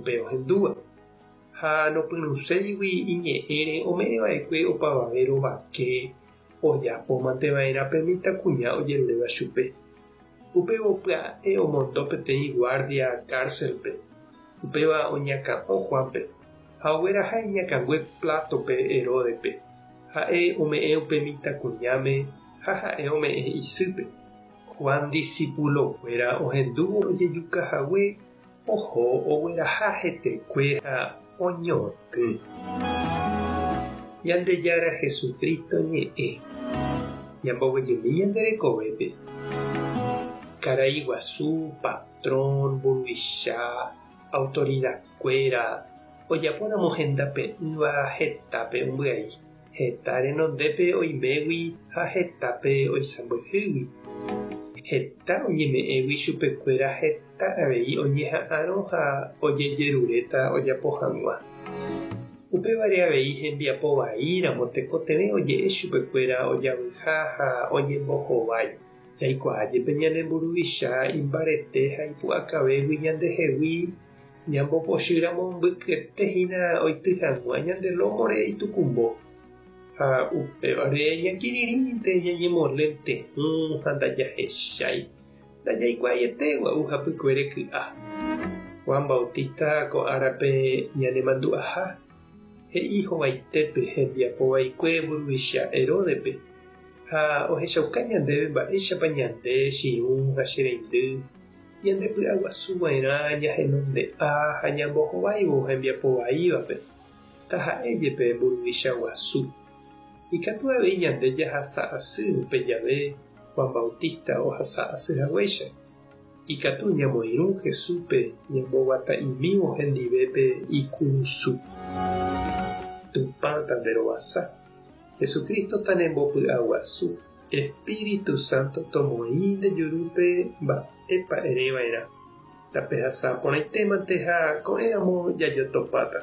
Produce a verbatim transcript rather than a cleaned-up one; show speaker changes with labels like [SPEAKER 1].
[SPEAKER 1] Upe ohendúva. Ha nopyrũséigui iñe'ẽre ome'ẽva'ekue opavave rovake ojapomanteva'erã pe mitãkuña ojeruréva chupe. Upévo pya'e omondo peteĩ guardia cárcel-pe. Upéva oñakã'o Juanpe ha ogueraha iñakãngue plátope Heródepe. Ha'e ome'ẽ upe mitãkuñáme ha ha'e ome'ẽ isýpe. Juan discipulokuéra ohendúvo ojejukahague oho ogueraha hetekue ha oñotỹ. Ñandejára Jesucristo ñe'ẽ. Ñamboguejymi ñande rekovépe. Karai guasu, patrón, mburuvicha, autoridadkuéra ojapóramo hendape'ỹva hetápe ombyai. Heta renondépe oimégui ha hetápe oisãmbyhýgui. Heta oñeme'ẽgui chupekuéra heta avei oñeha'ãrõ ha ojejeruréta ojapo hag̃ua. Upévare avei hembiapo vaíramo tekotevẽ oje'e chupekuéra ojavyha ha oñembohovái. Jaikuaa jepe ñane mburuvicha imbarete ha ipu'akavégui ñandehegui ñambopochýramo mbykyetehína oity hag̃ua ñande lómore itukumbo. Ha upévare ñakirirĩnte ñañemolente'ỹ ha ndajahechái. Ndajaikuaaiete gua'u hapykuere ky'a. Juan Bautista ko árape ñanemandu'aha he'i hovaitépe hembiapo vaikue mburuvicha Heródepe ha ohechauka ñandéve mba'éichapa ñande chiũ ha che reindy ñandepy'aguasuva'erã ñahenonde'a ha ñambohováivo hembiapo vaívape taha'e jepe mburuvicha guasu. Ikatu avei ñande jahasa asy upe jave Juan Bautista ohasa asy haguéicha. Ikatu ñamoirũ Jesúspe ñamboguata'imívo hendivépe ikurusu. Tupã tanderovasa. Jesucristo tanembopy'aguasu. Espíritu Santo tomoĩ nde jurúpe mba'épa ereva'erã. Tapehasa porãitémante ha ko'ẽramo jajotopáta.